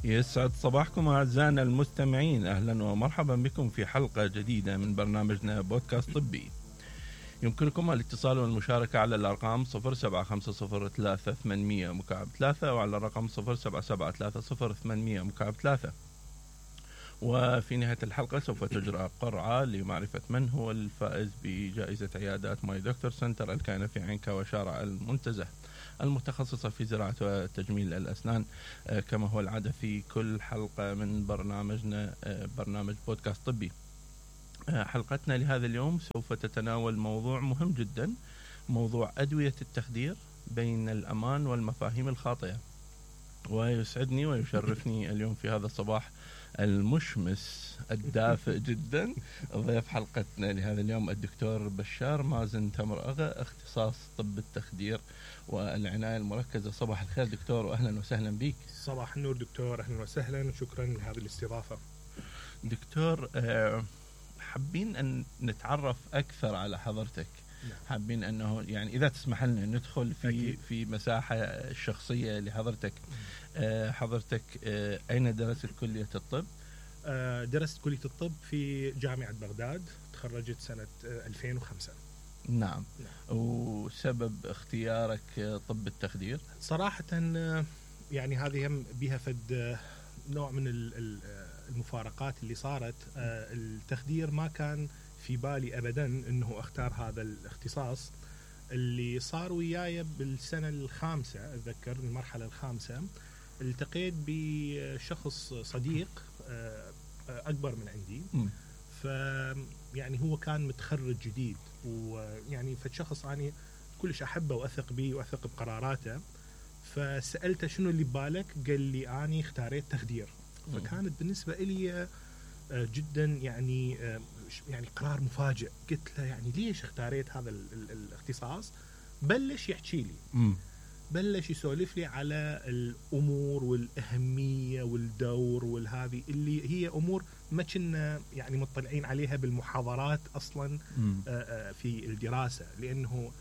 يسعد صباحكم أعزائنا المستمعين، أهلا ومرحبا بكم في حلقة جديدة من برنامجنا بودكاست طبي. يمكنكم الاتصال والمشاركة على الأرقام 07503800 وعلى الرقم 07730800. وفي نهاية الحلقة سوف تجرى قرعة لمعرفة من هو الفائز بجائزة عيادات ماي دكتور سنتر الكائنة في عينكا وشارع المنتزه المتخصصة في زراعة وتجميل الأسنان، كما هو العادة في كل حلقة من برنامجنا برنامج بودكاست طبي. حلقتنا لهذا اليوم سوف تتناول موضوع مهم جدا، موضوع أدوية التخدير بين الأمان والمفاهيم الخاطئة. ويسعدني ويشرفني اليوم في هذا الصباح المشمس الدافئ جدا ضيف حلقتنا لهذا اليوم الدكتور بشار مازن تمرأغا، اختصاص طب التخدير والعناية المركزة. صباح الخير دكتور وأهلا وسهلا بك. صباح النور دكتور، أهلا وسهلا وشكرا لهذه الاستضافة. دكتور، حابين أن نتعرف أكثر على حضرتك. حابين أنه يعني إذا تسمح لنا ندخل في مساحة الشخصية لحضرتك. حضرتك أين درست كلية الطب؟ درست كلية الطب في جامعة بغداد، تخرجت سنة 2005. نعم. وسبب اختيارك طب التخدير؟ صراحة يعني هذه هم بها فد نوع من المفارقات اللي صارت. التخدير ما كان في بالي أبدا أنه اختار هذا الاختصاص. اللي صار وياي بالسنة الخامسة، أتذكر المرحلة الخامسة، التقيت بشخص صديق أكبر من عندي. يعني هو كان متخرج جديد، ويعني فالشخص أنا كلش أحبه وأثق به وأثق بقراراته. فسألته شنو اللي ببالك؟ قال لي أنا اختاريت تخدير. فكانت بالنسبة إلي جدا يعني قرار مفاجئ. قلت له يعني ليش اختاريت هذا الاختصاص؟ بلش يحكي لي، بلش يسولف لي على الأمور والأهمية والدور والهذه اللي هي أمور ما كنا يعني مطلعين عليها بالمحاضرات أصلا في الدراسة، لأنه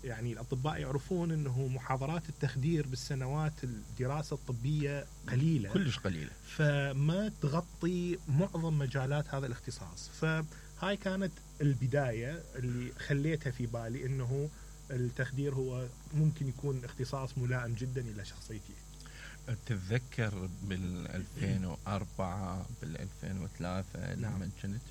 يعني الأطباء يعرفون أنه محاضرات التخدير بالسنوات الدراسة الطبية قليلة، كلش قليلة، فما تغطي معظم مجالات هذا الاختصاص. فهاي كانت البداية اللي خليتها في بالي أنه التخدير هو ممكن يكون اختصاص ملائم جدا إلى شخصيتي. تتذكر بال2004 بال2003 لما كنت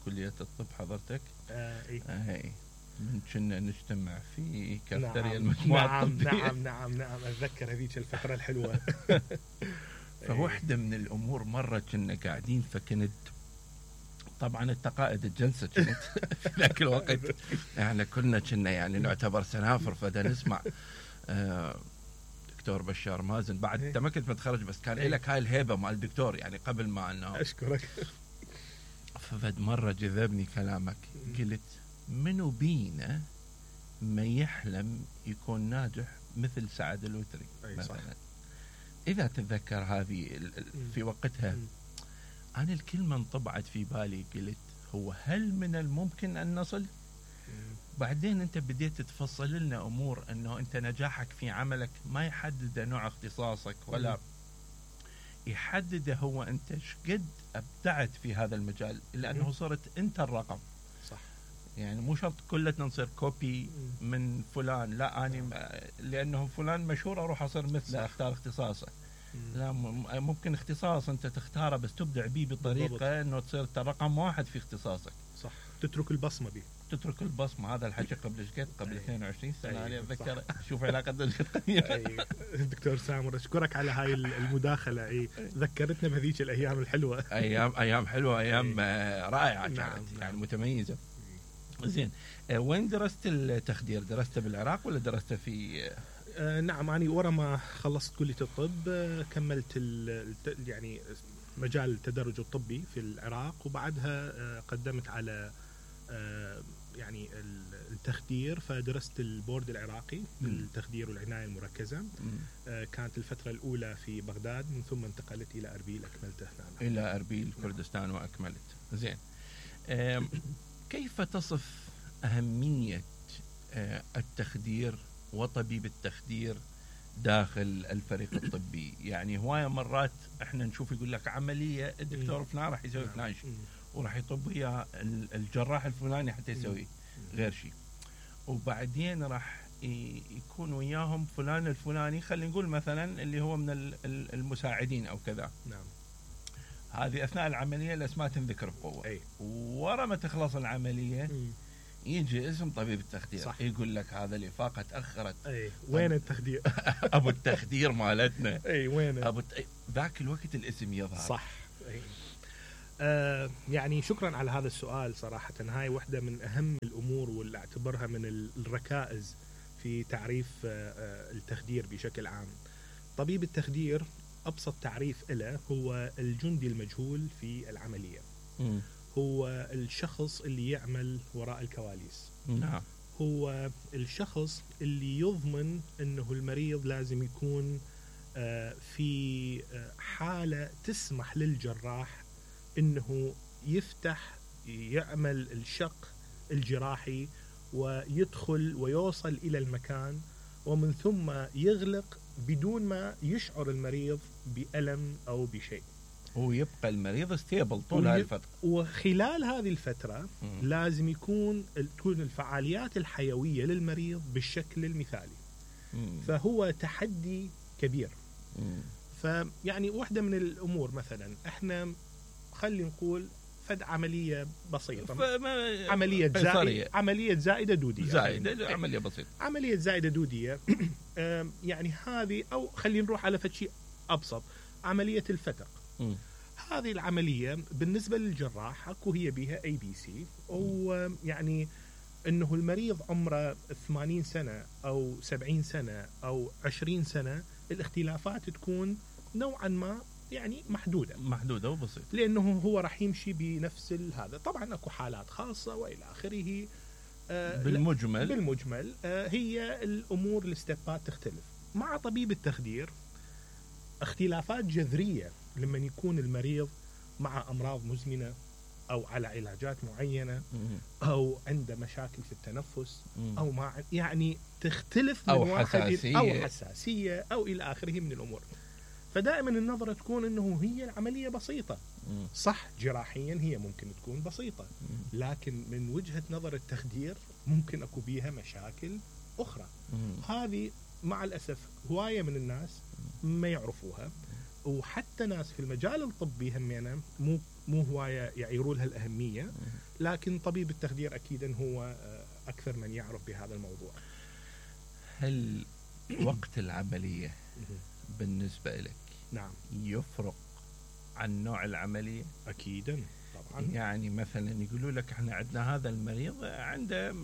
بكلية الطب حضرتك؟ إيه. من كنا نجتمع في كافتريا المجموعة الطبية. نعم أتذكر هذيك الفترة الحلوة. فواحدة من الأمور مرة كنا قاعدين، فكنت طبعا التقائد الجلسة كانت في ذاك الوقت يعني كنا يعني نعتبر سنافر، فدا نسمع دكتور بشار مازن. بعد انت ما كنت متخرج بس كان لك هاي الهيبة مع الدكتور يعني قبل ما أنه. أشكرك. ففد مرة جذبني كلامك، قلت منو بينا ما يحلم يكون ناجح مثل سعد الوتري مثلا. صح. إذا تتذكر هذه في وقتها أنا الكلمة انطبعت في بالي، قلت هو هل من الممكن أن نصل؟ بعدين أنت بديت تفصل لنا أمور أنه أنت نجاحك في عملك ما يحدد نوع اختصاصك ولا يحدد هو أنت شقد أبدعت في هذا المجال، إلا أنه صرت أنت الرقم. صح. يعني مو شرط كلنا نصير كوبي من فلان، لا أنا لأنه فلان مشهور أروح أصير مثله أختار اختصاصه. لا، ممكن اختصاص أنت تختاره بس تبدع به بطريقة أنه تصير رقم واحد في اختصاصك. صح، تترك البصمة به. تترك البصمة. هذا الحكي قبل 22 سنة أنا أتذكر. شوف علاقتنا قديمة. دكتور سامر أشكرك على هاي المداخلة. ذكرتنا بهذيك الأيام الحلوة. أيام حلوة، أيام رائعة كانت. يعني متميزة. زين، وين درست التخدير؟ درست بالعراق ولا درست في؟ نعم، أنا ورا ما خلصت كلية الطب كملت يعني مجال التدرج الطبي في العراق، وبعدها قدمت على يعني التخدير، فدرست البورد العراقي للتخدير والعناية المركزة. كانت الفترة الأولى في بغداد، من ثم انتقلت إلى أربيل أكملته هنا. إلى أربيل كردستان وأكملت. زين، كيف تصف أهمية التخدير وطبيب التخدير داخل الفريق الطبي. يعني هواية مرات احنا نشوف يقول لك عملية الدكتور فلان راح يسوي فلان شيء وراح يطب وياه الجراح الفلاني حتى يسوي غير شيء، وبعدين راح يكون وياهم فلان الفلاني خلينا نقول مثلا اللي هو من المساعدين او كذا. نعم. هذه اثناء العملية الاسماء تنذكر بقوة. ورا ما تخلص العملية يجي اسم طبيب التخدير. صح. يقول لك هذا الإفاقة تأخرت. وين التخدير؟ أبو التخدير مالتنا. وين ذاك الوقت الاسم يظهر. صح. يعني شكرا على هذا السؤال. صراحة هاي واحدة من أهم الأمور واللي أعتبرها من الركائز في تعريف التخدير بشكل عام. طبيب التخدير أبسط تعريف له هو الجندي المجهول في العملية. هو الشخص اللي يعمل وراء الكواليس. نعم. هو الشخص اللي يضمن أنه المريض لازم يكون في حالة تسمح للجراح أنه يفتح يعمل الشق الجراحي ويدخل ويوصل إلى المكان ومن ثم يغلق بدون ما يشعر المريض بألم أو بشيء، ويبقى المريض ستيبل طول هذه الفترة. وخلال هذه الفترة لازم تكون الفعاليات الحيوية للمريض بالشكل المثالي. فهو تحدي كبير. فيعني واحدة من الأمور مثلا احنا خلينا نقول فد عملية بسيطة، عملية زائدة دودية. عملية بسيطة. عملية زائدة دودية. يعني هذه، أو خلينا نروح على فد شيء أبسط، عملية الفتق. هذه العملية بالنسبة للجراح اكو هي بها ABC، ويعني انه المريض عمره 80 سنة او 70 سنة او 20 سنة، الاختلافات تكون نوعا ما يعني محدودة وبسيطة، لانه هو راح يمشي بنفس هذا. طبعا اكو حالات خاصة والى اخره. بالمجمل هي الامور الاستبات تختلف. مع طبيب التخدير اختلافات جذرية لما يكون المريض مع أمراض مزمنة أو على علاجات معينة أو عنده مشاكل في التنفس أو يعني تختلف من أو حساسية أو إلى آخره من الأمور. فدائما النظرة تكون أنه هي العملية بسيطة. صح، جراحيا هي ممكن تكون بسيطة، لكن من وجهة نظر التخدير ممكن أكو بيها مشاكل أخرى. هذه مع الأسف هواية من الناس ما يعرفوها، وحتى ناس في المجال الطبي همينا مو هواية يعيروا لها الأهمية، لكن طبيب التخدير أكيدا هو أكثر من يعرف بهذا الموضوع. هل وقت العملية بالنسبة لك نعم يفرق عن نوع العملية؟ أكيدا طبعا. يعني مثلا يقولوا لك احنا عندنا هذا المريض عنده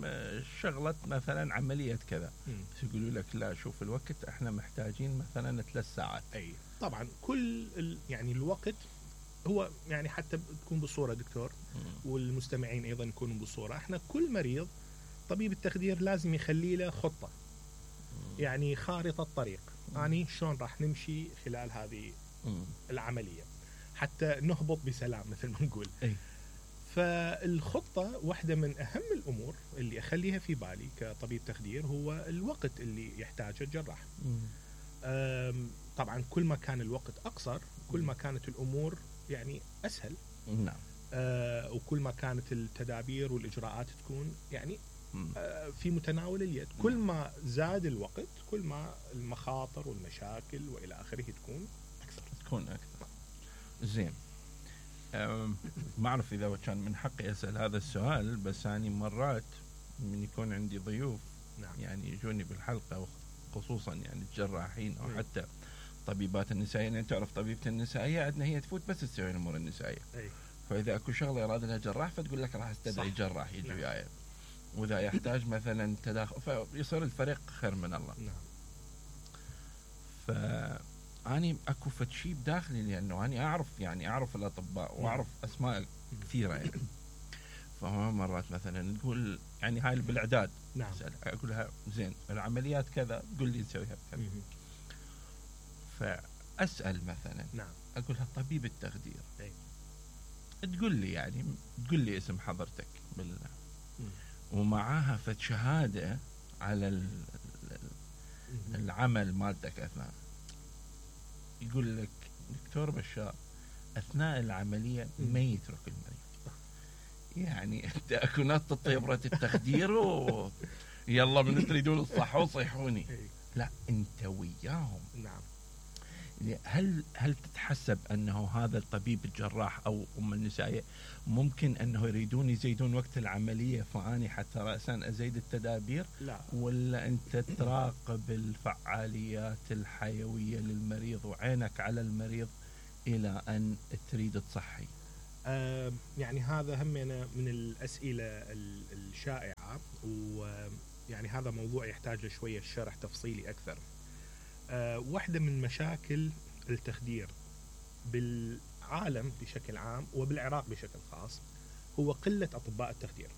شغلة مثلا عملية كذا، بس يقولوا لك لا شوف الوقت احنا محتاجين مثلا 3 ساعات. أي طبعا كل يعني الوقت هو يعني حتى تكون بالصورة دكتور والمستمعين أيضا يكونوا بالصورة. احنا كل مريض طبيب التخدير لازم يخلي له خطة، يعني خارطة طريق، يعني شلون راح نمشي خلال هذه العملية حتى نهبط بسلام مثل ما نقول. فالخطة واحدة من أهم الأمور اللي أخليها في بالي كطبيب تخدير هو الوقت اللي يحتاجه الجراح. طبعا كل ما كان الوقت أقصر كل ما كانت الأمور يعني أسهل. نعم. وكل ما كانت التدابير والإجراءات تكون يعني في متناول اليد. كل ما زاد الوقت كل ما المخاطر والمشاكل وإلى آخره تكون أكثر. زين. ما أعرف إذا كان من حقي أسأل هذا السؤال، بس يعني مرات من يكون عندي ضيوف نعم. يعني يجوني بالحلقة خصوصا يعني الجراحين أو حتى طبيبات النسائية. يعني تعرف طبيبة النسائية عندنا هي تفوت بس تسوي الأمور النسائية. فإذا أكو شغلة يراد لها جراح فتقول لك راح استدعي جراح يجي وياي. وإذا يحتاج مثلا تداخل فيصير الفريق خير من الله. نعم. أني أكو فتشي بداخلي لأنه أنا أعرف الأطباء وأعرف أسماء كثيرة يعني. فما مرات مثلا تقول يعني هاي بالإعداد. نعم. أقول لها زين العمليات كذا تقول لي نسويها كذا. فأسأل مثلا. نعم. أقول لها طبيب التخدير تقول لي اسم حضرتك ومعاها فد شهادة على العمل مالتك أثناء، يقول لك دكتور بشار أثناء العملية ما يترك المريض. يعني أنت أكو ناس تطيب التخدير يلا من تريدون الصحة صيحوني، لا أنت وياهم. نعم. هل تتحسب أنه هذا الطبيب الجراح أو أم النسائية ممكن أنه يريدون يزيدون وقت العملية فأني حتى رأسا أزيد التدابير؟ لا. ولا أنت تراقب الفعاليات الحيوية للمريض وعينك على المريض إلى أن تريد تصحي؟ يعني هذا هم من الأسئلة الشائعة، ويعني هذا موضوع يحتاج شوية شرح تفصيلي أكثر. واحدة من مشاكل التخدير بالعالم بشكل عام وبالعراق بشكل خاص هو قلة أطباء التخدير.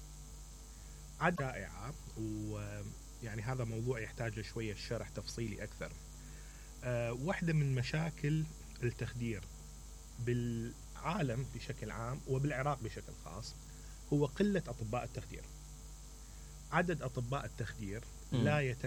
عدد شائعة، ويعني هذا موضوع يحتاج شوية شرح تفصيلي أكثر. واحدة من مشاكل التخدير بالعالم بشكل عام وبالعراق بشكل خاص هو قلة أطباء التخدير. عدد أطباء التخدير لا يتم